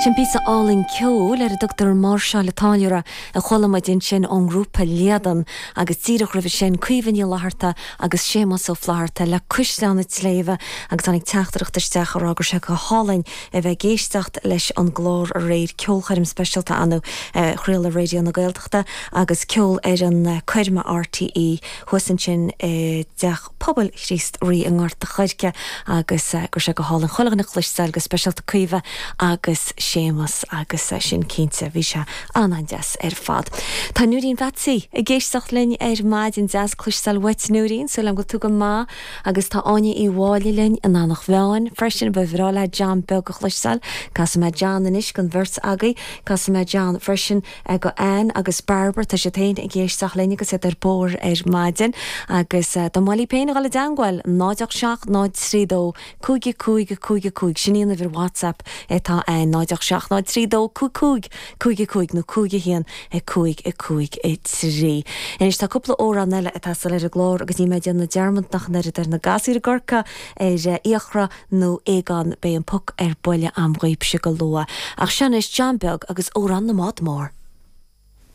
Sin píosa álainn ceoil ar a dtugtar Máirseáil an Táilliúra a chuala muid ansin ón ngrúpa Líadan agus díreach roimhe sin Caoimhe Ní Fhlatharta agus Séamus Ó Flatharta le Cuisleán an tSléibhe agus tháinig teachtaireacht isteach a rá go raibh sé go hálainn a bheith ag éisteacht leis an gclár aréir, ceolchoirm speisialta ann a chraoladh Raidió na Gaeltachta agus ceol ar an coirm RTÉ thuas ansin i dTeach Pobail Chríost Rí i nGort a' Choirce agus go raibh sé go hálainn chuile dhuine a chloisteáil, go speisialta Caoimhe agus Séamus agus sin cinnte, bhí sé an-an-deas ar fad. Tá Nóirín Bheatsaí ag éisteacht linn ar maidin, deas cloisteáil uait Nóirín, súil agam go bhfuil tú go maith agus tá Áine Uí Mháille linn in Eanach Mheáin freisin, ba bhreá leat John Beag a chloisteáil, casfaidh mé John anois don bheirt agaibh, casfaidh mé John freisin. go Ann agus Barbara, tá siad féin ag éisteacht linn agus iad ar bóthar ar maidin agus dá mba mhaith libh féin a dhul i dteangmháil, 0 8 7 0 3 2 5 5 5 5, sin í an uimhir WhatsApp atá ann, 0 8 7 0 3 2 5 5 5 5 nó 5 1 5 5 3. Anois tá cúpla amhrán eile ag teastáil ar an gclár agus níl mé ag déanamh dearmad ach an oiread ar na gasúir i gCorcaigh, ar Fhiachra nó Aogán, beidh an poc ar buile a'm dhaoibhse go luath. Ach seo anois John Beag agus Amhrán na mBád Mór.